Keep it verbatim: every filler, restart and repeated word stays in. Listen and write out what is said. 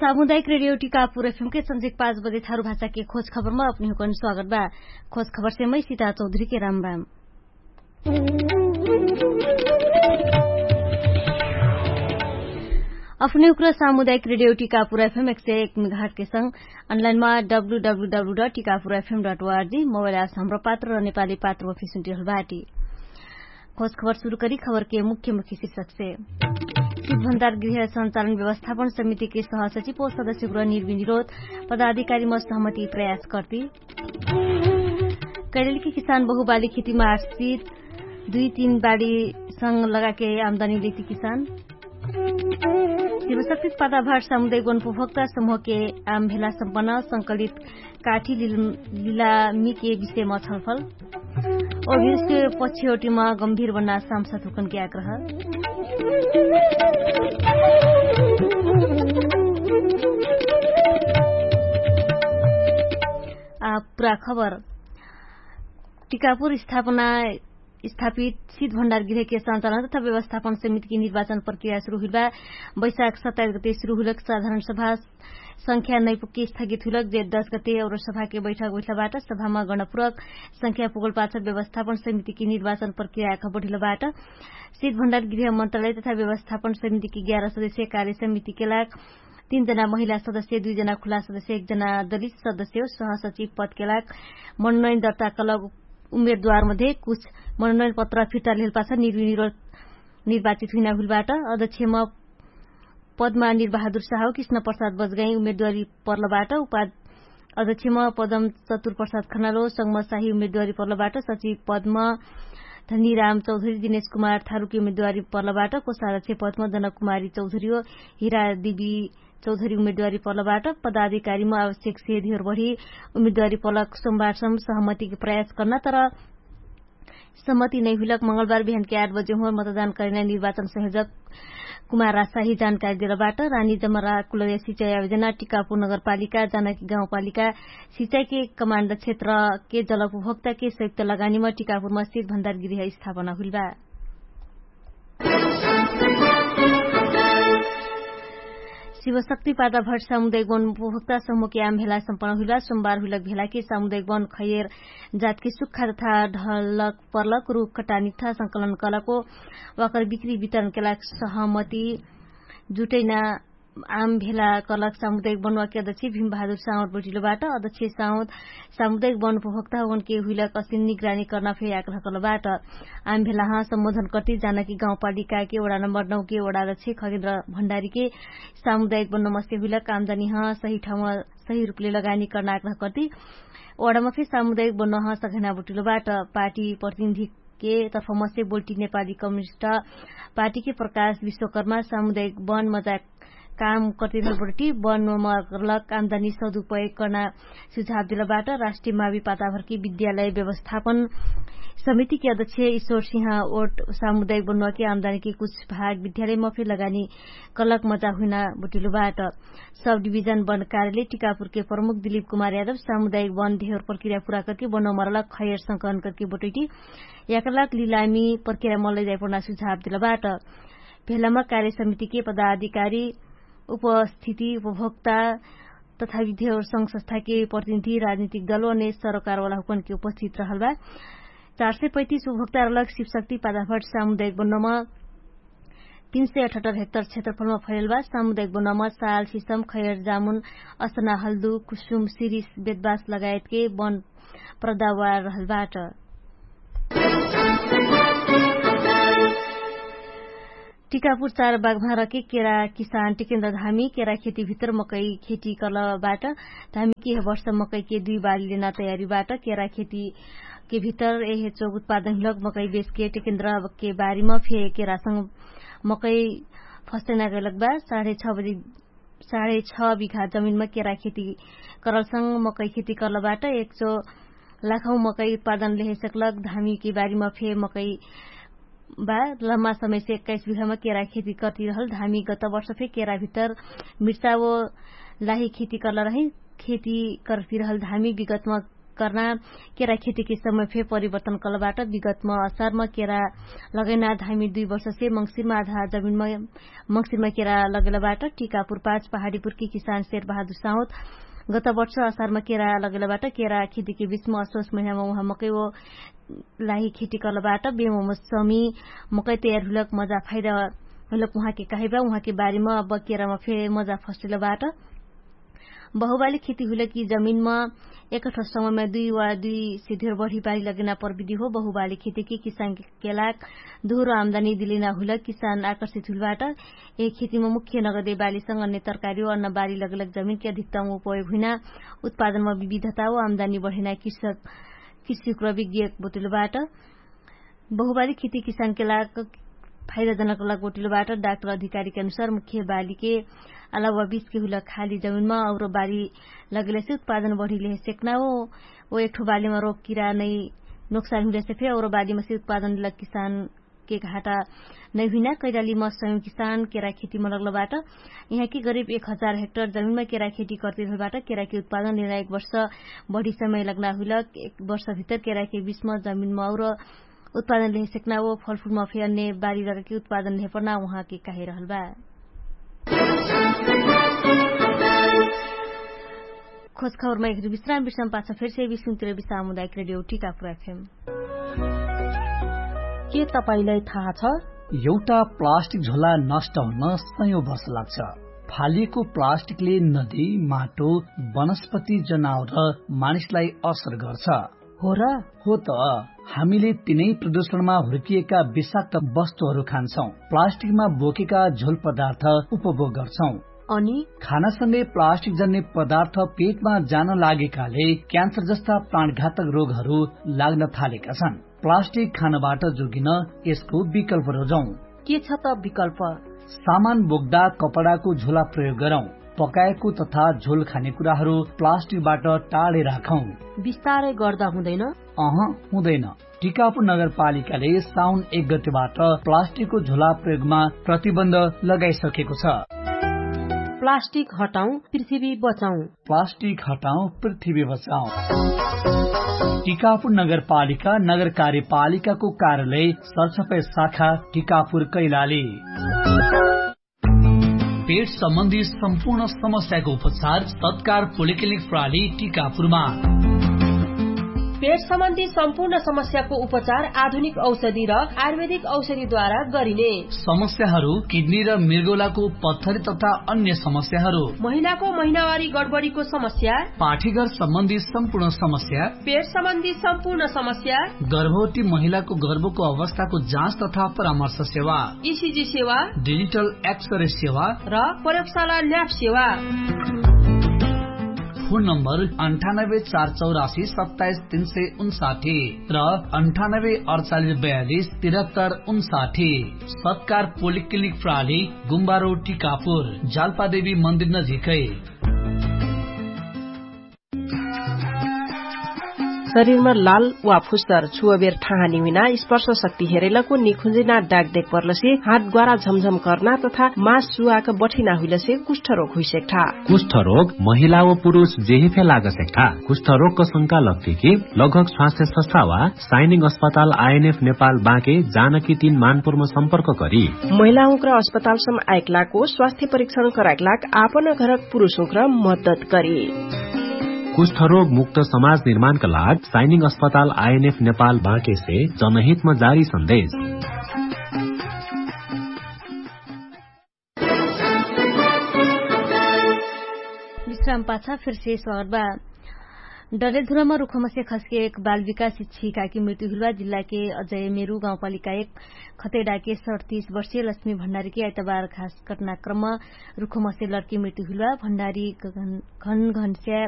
सामुदायिक रेडियो टिकापुर एफएम के संझिक पाँच बजे थारु भाषा के खोज खबर मा अपनी हुकन स्वागत बा। खोज खबर से मै सीता चौधरी के राम राम। अपने हुक्र सामुदायिक रेडियो टिकापुर एफएम एक सय एक मेघाट के संग अनलाइन मा W W W dot Tikapur FM dot ORG mobile आस हमरो पात्र र नेपाली पात्र मा फिसुन्टी हल बाटी। खोज खबर सुरु करी खबर के मुख्य मुख्य शीर्षक से। सिद्ध भण्डार गृह सञ्चालन व्यवस्थापन समिति के सहसचिव सदस्य गुरा निर्विनिरोध पदाधिकारी म सहमति प्रयास कर्ती। कैलेली कि किसान बहुबाली खेतीमा आश्रित दुई तीन बाडी संग लगाके आमदानी लेती किसान। शिवशक्ति पाताभाट सामुदायिक वन उपभोक्ता समूह के आम भेला सम्पन्न संकलित काठी लिलामी के विषयमा छलफल। अभियुस के पछियोटीमा गम्भीर बन्ना सामसा थुकन के आग्रह। आ पुरा खबर। टिकापुर स्थापना स्थापित सिद्ध भण्डार गृह के सञ्चालन तथा व्यवस्थापन समिति के निर्वाचन प्रक्रिया सुरु हुइल बा। बैशाख सत्ताइस गते सुरु हुइलक साधारण सभा संख्या नैपुग्के स्थगित हुइलक जे दस गते और सभा के बैठक बैठला बाट सभामा गणपुरक संख्या पुगल पाछ व्यवस्थापन समिति के निर्वाचन प्रक्रिया खबडिल बाट। सिद्ध भण्डार गृह मन्त्रालय तथा व्यवस्थापन समिति के ग्यारह सदस्य कार्य समिति के लाग तीन जना महिला सदस्य दुई जना खुला सदस्य एक जना दलित सदस्य सहसचिव पद के लाग मनोनयन दर्ता कलक उमेरद्वार मध्ये कुछ मनोनयन पत्र फिर्ता लेहल पाछ निर्विनिरोध निर्वाचित हुइना हुइल बाट। अध्यक्षमा पदमा निर्बहादुर साहु कृष्ण प्रसाद बजगाई उमेरद्वारी पर्ल बाट उपाध अध्यक्षमा पदम चतुर प्रसाद खनालो संगम साही उमेरद्वारी पर्ल बाट सचिव पदमा धनीराम चौधरी दिनेश कुमार थारुकी उमेरद्वारी पर्ल बाट कोषाध्यक्ष पदमा जनक कुमारी चौधरी हो हिरा देवी चौधरी उमेरद्वारी पर्ल बाट पदाधिकारीमा आवश्यक सेधीहरू बढी उमेरद्वारी पर्ल सोमबारसम सहमतिके प्रयास कर्ना तर सम्मति नै हुइलक मंगलबार बिहानके आठ बजे हुँवर मतदान करेना निर्वाचन संयोजक कुमार राजशाही जानकारी देलबाट। रानी जमरा कुलरिया सिचाइ आवेजना टिकापुर नगरपालिका जानकी गाउँपालिका सिचाइके कमाण्ड क्षेत्रके जलउपभोक्ताके संयुक्त लगानीमा टिकापुरमा सित भण्डार गृह स्थापना हुइलबा। शिवशक्ति पाता भट्ट सामुदायिक वन उपभोक्ता समूहके आम भेला सम्पन्न हुइला सोमबार हुइलक भेलाके सामुदायिक वन खैयर जातके सुक्खा तथा ढलक पर्लक रुख कटानिक था संकलन कलको वाकर बिक्री वितरणके लाग सहमति जुटैना आम भेला कलक सामुदायिक बनुवाके अध्यक्ष भिम बहादुर साउद बटिलोबाट अध्यक्ष साउद सामुदायिक वन उपभोक्ता होनके हुइलक असिन निगरानी कर्ना फेरि आग्रह कलबाट। आम भेलाह सम्बोधन कर्ति जानकी गाउँपालिकाके वडा नम्बर नौके वडा अध्यक्ष खगेन्द्र भण्डारीके सामुदायिक बन्नमस्ते हुइलक आमदानीह सही ठाउँमा सही रुपले लगानी कर्ना आग्रह कर्ति वडामा फेरि सामुदायिक बन्नह सघैना बटिलोबाट। पार्टी प्रतिनिधिके तर्फमस्ते बोल्टी नेपाली कम्युनिस्ट पार्टीके प्रकाश विश्वकर्मा सामुदायिक वन मजाक काम कर्तिरहल बटटी वन मगरलक आमदानी सदुपयोग कर्ना सुझाव देलबाट। राष्ट्रिय मावी पाताभरकी विद्यालय व्यवस्थापन समितिके अध्यक्ष ईश्वर सिंह ओट सामुदायिक बन्नुवाके आमदानीके कुछ भाग विद्यालय मफे लगानी कलक मजा हुइना बटिलोबाट। सब डिभिजन वन कार्यले टिकापुरके प्रमुख दिलीप कुमार यादव सामुदायिक वन धेवर प्रक्रिया पुरा करके बन्नुवा मरलक खैयर संकलन करके बटैटी याकरलक लिलामी प्रक्रिया मल्लै जाइपर्ना सुझाव देलबाट। भेलामा कार्य समितिके पदाधिकारी उपस्थिति उपभोक्ता तथा विद्यावर संघ संस्थाके प्रतिनिधि राजनीतिक दल अने सरोकारवाला हुकनके उपस्थित रहलबा। चार सय पैतिस उपभोक्तारलक शिवशक्ति पादाफट सामुदायिक बन्नमा तीन सय अठहत्तर हेक्टर क्षेत्रफलमा फैलबा सामुदायिक बन्नमा साल सिसम खैर जामुन असना हल्दु कुसुम सिरिस बेदबास लगायतके वन प्रदावार रहलबाट। टिकापुर चार बागभारके केरा किसान टिकेन्द्र धामी केरा खेती भित्र मकै खेती कलबाट। धामी के हे वर्ष मकै के दुई बाली लेना तयारी बाट केरा खेती के भित्र एहे चोक उत्पादन हुलक मकै बेचके टिकेन्द्र के बारीमा फे केरासँग मकै फस्टैना गैलक बा। साढे छ बजी साढे छ बिघा जमिनमा केरा खेती करलसँग मकै खेती करलबाट एक चो लाखौ मकै उत्पादन लेहे सकलक धामी के बारीमा फे मकै बा। लम्मा समय से एक्काइस बिघामा केरा खेती कर्तिरहल धामी गत वर्ष फे केरा भित्तर मिर्चा वो लाही खेती कर्ल रही। खेती कर्तिरहल धामी विगतमा कर्ना केरा खेतीके समय फे परिवर्तन कलबाट। विगतम असारम केरा लगैना धामी दुई वर्षसे मङ्सिरमा आधा जमिनमा मङ्सिरमा केरा लगैलबाट। टिकापुर पाँच पहाडीपुरकी किसान शेर बहादुर साहुत गत वर्ष असारमा केरा लगैलबाट। केरा खेतीके बिचमा असोस महिनामा उहाँ मकै ओ लाही खेती कलबाट। बेमो मौसमी मकै तयार हुइलक मजा फाइदा हुइलक उहाँके कहिबा। उहाँके बारेमा अब केरामा फे मजा फस्टिलबाट। बहुबाली खेती हुइलक कि जमिनमा एकठो समयमा दुई वा दुई से धेर बढी बाली लगेना प्रविधि हो। बहुबाली खेतीके किसानके केलाक दोहरो आम्दानी दिलेना हुइलक किसान आकर्षित हुइलबाट। ए खेतीमा मुख्य नगदे बालीसँग अन्य तरकारी वा अन्न बाली लगलक जमिनके अधिकतम उपयोग हुइना उत्पादनमा विविधता वा आम्दानी बढेना कृषक कृषि क्रविज्ञ बोटिलबाट। बहुबाली खेती किसानके लाग फाइदाजनक लग बोटिलबाट। डाक्टर अधिकारीके अनुसार मुख्य बालीके अलावा बिचके हुइलक खाली जमिनमा और बाली लगेलेसे उत्पादन बढिलेहे सेक्ना हो। ओ एकठो बालीमा रोग किरा नै नोक्सान हुइलेसे फे और बालीमा से उत्पादन लग किसान के घाटा नै हुइना। कैलाली मसयौं किसान केरा खेतीमा लगलबाट। यहाँके गरिब एक हजार हेक्टर जमिनमा केरा खेती कर्तिरहलबाट। केराके उत्पादन लेना एक वर्ष बढी समय लग्ना हुइलक एक वर्ष भित्तर केराके बिचमा जमिनमा और उत्पादन लेहे सेक्ना ओ फलफुलमा फे अन्य बारी लगाके उत्पादन लेहे पर्ना उहाँके कहे रहलबा। खोजखबरमा एक विश्राम विश्राम पाछ फेरसे विश्राम तिर विश्राम हुँदा एक रेडियो टिकापुर एफएम। के तपाईंलाई थाहा छ? एउटा प्लास्टिक झोला नष्ट हुन सयौं वर्ष लाग्छ। फालिएको प्लास्टिकले नदी, माटो, वनस्पति, जनावर र मानिसलाई असर गर्छ। हो र? हो त। हामीले तिनै प्रदूषणमा हुर्किएका विषाक्त वस्तुहरू खान्छौं। प्लास्टिकमा बोकेका झोल पदार्थ उपभोग गर्छौं। अनि खानासँगै प्लास्टिक जन्ने पदार्थ पेटमा जान लागेकाले क्यान्सर जस्ता प्राणघातक रोगहरू लाग्न थालेका छन्। प्लास्टिक खानबाट जोगिन यसको विकल्प रोजौं। के छ त विकल्प? सामान बोक्दा कपडाको झोला प्रयोग गरौं। पकाएको तथा झोल खाने कुराहरू प्लास्टिकबाट टाढे राखौं। बिस्तारै गर्दा हुँदैन? अह, हुँदैन। टिकापुर नगरपालिकाले साउन एक गतेबाट प्लास्टिकको झोला प्रयोगमा प्रतिबन्ध लगाइसकेको छ। प्लास्टिक हटाउँ, पृथ्वी बचाउँ। प्लास्टिक हटाउँ, पृथ्वी बचाउँ। टिकापुर नगरपालिका नगर कार्यपालिकाको कार्यालय सरसफाइ शाखा टिकापुर कैलाली। पेट सम्बन्धी सम्पूर्ण समस्याको उपचार सत्कार पोलिक्लिनिक प्रणाली टिकापुरमा। पेट सम्बन्धी सम्पूर्ण समस्याको उपचार आधुनिक औषधि र आयुर्वेदिक औषधिद्वारा गरिने। समस्याहरू किडनी र मृगौलाको पत्थरी तथा अन्य समस्याहरू। महिनाको महिनावारी गडबडीको समस्या। पाठीघर सम्बन्धी सम्पूर्ण समस्या। पेट सम्बन्धी सम्पूर्ण समस्या। गर्भवती महिलाको गर्भको अवस्थाको जाँच तथा परामर्श सेवा। इसिजी सेवा। डिजिटल एक्सरे सेवा। र प्रयोगशाला ल्याब सेवा। फोन नम्बर अन्ठानब्बे चार चौरासी सत्ताइस तीन सय उन्साठी र अन्ठानब्बे अडचालिस बयालिस तिरहत्तर उन्साठी। सत्कार पोलिक्लिनिक प्रणाली गुम्बारो टिकापुर जालपादेवी मन्दिर नजिकै। शरीरमा लाल वा फुस्तर छुवबेर ठाहानी हुइना स्पर्श शक्ति हेरैलको निखुन्जिना डाक देख पर्लसे हात ग्वारा झमझम कर्ना तथा मास सुवाक बठिना हुइलसे कुष्ठरोग हुइसेक्ठा। कुष्ठरोग महिला व पुरुष जेहिफे लागसेक्ठा। कुष्ठरोगक शंका लग्तिकी लगभग स्वास्थ्य सस्था वा साइनिङ अस्पताल आइएनएफ नेपाल बाँके जानकी तीन मानपुरमा सम्पर्क करी। महिलाहुँक्र अस्पतालसम आइकलाको स्वास्थ्य परीक्षण कराइकलाक आपन घरक पुरुषहुँक्र मद्दत करी। कुष्ठरोग मुक्त समाज निर्माणका लाग साइनिङ अस्पताल आइएनएफ नेपाल बाँकेसे जनहितमा जारी सन्देश। विश्राम पाछा फेरसे स्वागत बा। डरेधुरामा रुखमसे खसके एक बाल विकास इच्छिकाकी मृत्यु हुइलबा। जिल्लाके अजय मेरु गाउँपालिका एक खतेडाके सडतीस वर्षीय लक्ष्मी भण्डारीकी आइतबार घास कटनाक्रम रुखमसे लड्की मृत्यु हुइलबा। भण्डारी घनघनस्या